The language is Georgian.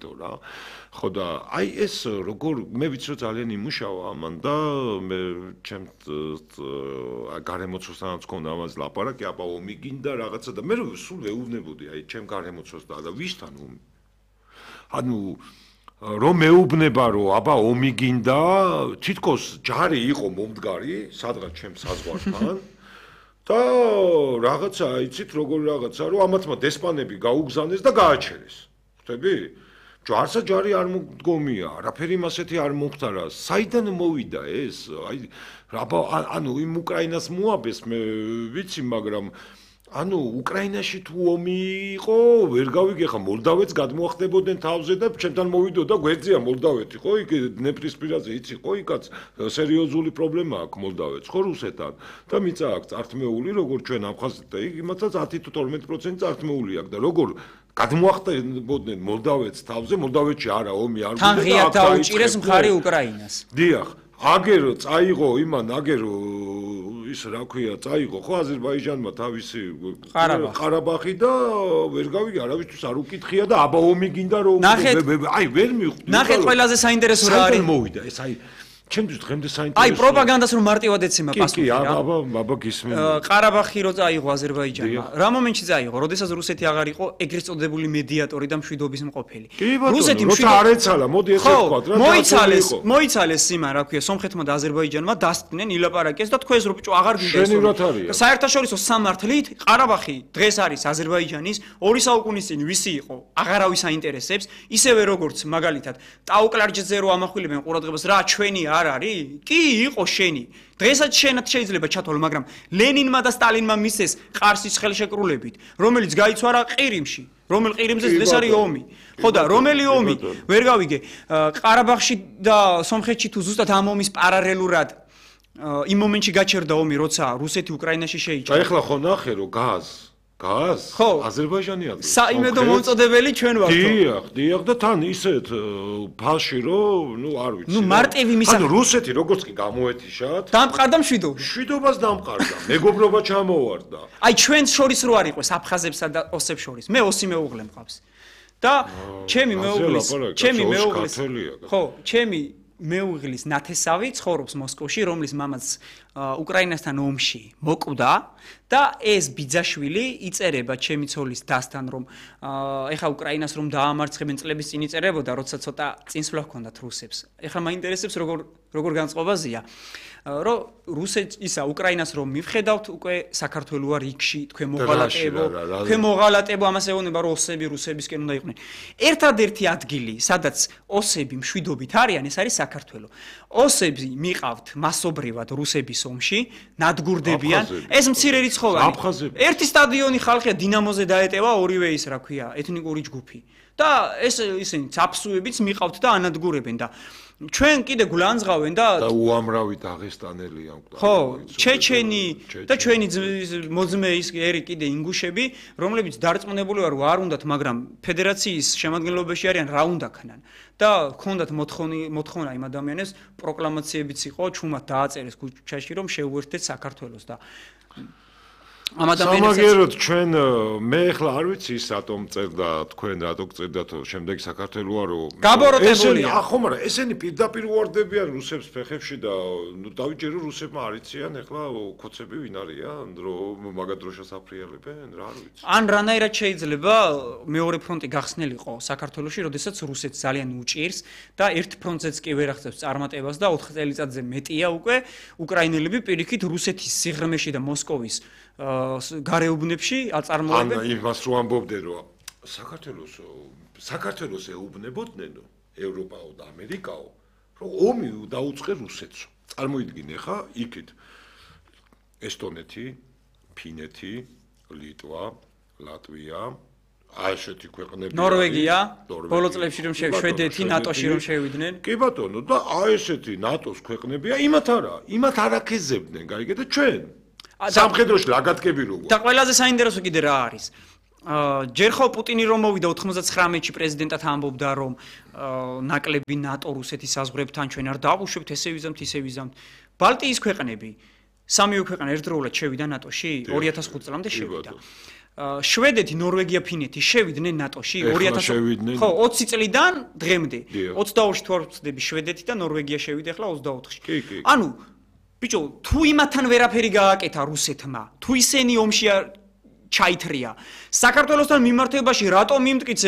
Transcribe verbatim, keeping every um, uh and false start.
იმიტომ რა. ხო და აი ეს როგორ მე ვიცი რომ ძალიან იმუშავა ამან და მე ჩემ გარემოცვასთანაც მქონდა ამაზე ლაპარაკი, აბა ომი გინდა რაღაცა და მე სულ ვეუბნებოდი აი ჩემ გარემოცვას და ვისთან ომი. ანუ რომ მეუბნება რომ აბა ომი გინდა, თითქოს ჯარი იყო მომდგარი სადღაც ჩემ საზღვართან და რაღაცა იცით როგორი რაღაცა რომ ამათმა დესპანები გაუგზავნეს და გააჩერეს. ხვდები? ჯარსა ჯარი არ მდგომია, არაფერი მასეთი არ მომხდარა. საიდან მოვიდა ეს? აი აბა ანუ იმ უკრაინას მოაბეს მე ვიცი, მაგრამ ანუ უკრაინაში თუ ომი იყო, ვერ გავიგე ხა მოლდავეთს გადმოახდებოდნენ თავზე და ჩემთან მოვიდოდა გვერდზეა მოლდავეთი, ხო? იქ დნეპრისპირაზე იცი, ხო? იქაც სერიოზული პრობლემა აქვს მოლდავეთს, ხო რუსეთთან. და მიწა აქვს წართმეული, როგორც ჩვენ აფხაზეთს და იმათაც ათი თუ თორმეტი პროცენტი წართმეული აქვს და როგორ გადმოახდებოდნენ მოლდავეთს თავზე, მოლდავეთში არა ომი არ თან ღიად დაუჭირეს მხარი უკრაინას. დიახ, აგერ წაიღო იმან, აგერ ის რა ქვია, წაიღო ხო აზერბაიჯანმა თავისი ყარაბაღი და ვერ გავიგე, არავისთვის არ უკითხია და აბა ომი გინდა რომ აი ვერ მიხვდი. ნახეთ ყველაზე საინტერესო რა არის. საიდან მოვიდა ეს აი ჩემთვის დღემდე საინტერესო. აი პროპაგანდას რომ მარტივად ეცემა პასუხი რა. კი, აბა აბა გისმენთ. ყარაბაღი რო წაიღო აზერბაიჯანმა. რა მომენტში წაიღო, როდესაც რუსეთი აღარ იყო ეგრეთ წოდებული მედიატორი და მშვიდობის მყოფელი. რუსეთი როცა არ ეცალა, მოდი ესე ვთქვათ რა. მოიცალეს, მოიცალეს იმან, რა ქვია, სომხეთმა და აზერბაიჯანმა დასტნენ ილაპარაკეს და თქვენს რო ბიჭო აღარ გინდა ეს. საერთაშორისო სამართლით ყარაბაღი დღეს არის აზერბაიჯანის ორი საუკუნის წინ ვისი იყო, აღარავის აინტერესებს, ისევე როგორც მაგალითად ტაუკლარჯზე რო ამახვილებენ ყურადღებას რა ჩვენი არ არის? კი, იყო შენი. დღესაც შენად შეიძლება ჩათვალო, მაგრამ ლენინმა და სტალინმა მისცეს ყარსის ხელშეკრულებით, რომელიც გაიცვალა ყირიმში. რომელ ყირიმზეც დღეს არის ომი. ხო და რომელი ომი? ვერ გავიგე. ყარაბაღში და სომხეთში თუ ზუსტად ამ ომის პარალელურად იმ მომენტში გაჩერდა ომი, როცა რუსეთი უკრაინაში შეიჭრა. და ეხლა ხო ნახე რომ გაზ გაზ აზერბაიჯანი აქვს. საიმედო მომწოდებელი ჩვენ ვართ. დიახ, დიახ და თან ისეთ ფალში რომ, ნუ არ ვიცი. ნუ მარტივი მისა. ანუ რუსეთი როგორც კი გამოეთიშათ. დამყარდა მშვიდობა. მშვიდობას დამყარდა. მეგობრობა ჩამოვარდა. აი ჩვენს შორის რო არ იყოს აფხაზებსა და ოსებს შორის. მე ოსი მეუღლე მყავს. და ჩემი მეუღლის, ჩემი მეუღლის. ხო, ჩემი მეუღლის ნათესავი ცხოვრობს მოსკოვში, რომლის მამაც უკრაინასთან ომში მოკვდა და ეს ბიძაშვილი იწერება ჩემი ცოლის დასთან რომ ეხა უკრაინას რომ დაამარცხებენ წლების წინ იწერებოდა, როცა ცოტა წინსვლა ჰქონდათ რუსებს. ეხა მაინტერესებს როგორ როგორ განწყობაზია. რომ რუსეთს ისა უკრაინას რომ მივხედავთ უკვე საქართველო არ იქში თქვენ მოღალატეებო თქვენ მოღალატეებო ამას ეუბნება რომ ოსები რუსებისკენ უნდა იყვნენ. ერთადერთი ადგილი სადაც ოსები მშვიდობით არიან ეს არის საქართველო. ოსები მიყავთ მასობრივად რუსების ომში ნადგურდებიან ეს მცირე რიცხოვანი ერთი სტადიონი ხალხია დინამოზე დაეტევა ორივე ის რა ქვია ეთნიკური ჯგუფი და ეს ისინი ცაფსუებიც მიყავთ და ანადგურებენ და ჩვენ კიდე გულანძღავენ და და უამრავი დაღესტანელი აქვს. ხო, ჩეჩენი და ჩვენი მოძმე ის ერი კიდე ინგუშები, რომლებიც დარწმუნებული ვარ, არ უნდათ, მაგრამ ფედერაციის შემადგენლობაში არიან, რა უნდა ქნან. და ჰქონდათ მოთხოვნი მოთხოვნა იმ ადამიანებს, პროკლამაციებიც იყო, ჩუმად დააწერეს ქუჩაში, რომ შეუერთდეთ საქართველოს და ამ ადამიანებს სამაგეროდ ჩვენ მე ახლა არ ვიცი ის რატომ წერდა თქვენ რატო წერდათ შემდეგ საქართველოა რომ გაბოროტებულია. ახო მაგრამ ესენი პირდაპირ უარდებიან რუსებს ფეხებში და ნუ დავიჯერო რუსებმა არიციან ახლა ქოცები ვინ არიან რომ მაგათ დროშას აფრიალებენ რა არ ვიცი. ან რანაირად შეიძლება მეორე ფრონტი გახსნილიყო საქართველოში, როდესაც რუსეთს ძალიან უჭირს და ერთ ფრონტზეც კი ვერ ახდენს წარმატებას და ოთხ წელიწადზე მეტია უკვე უკრაინელები პირიქით რუსეთის სიღრმეში და მოსკოვის გარეუბნებში აწარმოებენ. ან იმას რო ამბობდნენ რომ საქართველოს საქართველოს ეუბნებოდნენ ევროპაო და ამერიკაო რომ ომი დაუწყე რუსეთს. წარმოიდგინე ხა იქით ესტონეთი, ფინეთი, ლიტვა, ლატვია, აი ესეთი ქვეყნები ნორვეგია, ბოლო წლებში რომ შვედეთი ნატოში რომ შევიდნენ. კი ბატონო და აი ესეთი ნატოს ქვეყნებია, იმათ არა, იმათ არაქეზებდნენ, გაიგე და ჩვენ სამხედროში ლაგათკები როგორ და ყველაზე საინტერესო კიდე რა არის ჯერ ხო პუტინი რომ მოვიდა ოთხმოცდათხრამეტში პრეზიდენტად ამბობდა რომ ნაკლები ნატო რუსეთის საზღვრებთან ჩვენ არ დავუშვებთ ესე ვიზამთ ისე ვიზამთ ბალტიის ქვეყნები სამივე ქვეყანა ერთდროულად შევიდა ნატოში ორი ათას ხუთი წლამდე შევიდა შვედეთი, ნორვეგია, ფინეთი შევიდნენ ნატოში ორი ათასი ხო, ოცი წლიდან დღემდე. ოცდაორში თუ არ ვწდები შვედეთი და ნორვეგია შევიდა ახლა ოცდაოთხში. ანუ ბიჭო, თუ იმათთან ვერაფერი გააკეთა რუსეთმა, თუ ისინი ომში ჩაითრია, საქართველოსთან მიმართებაში რატომ იმტკიცე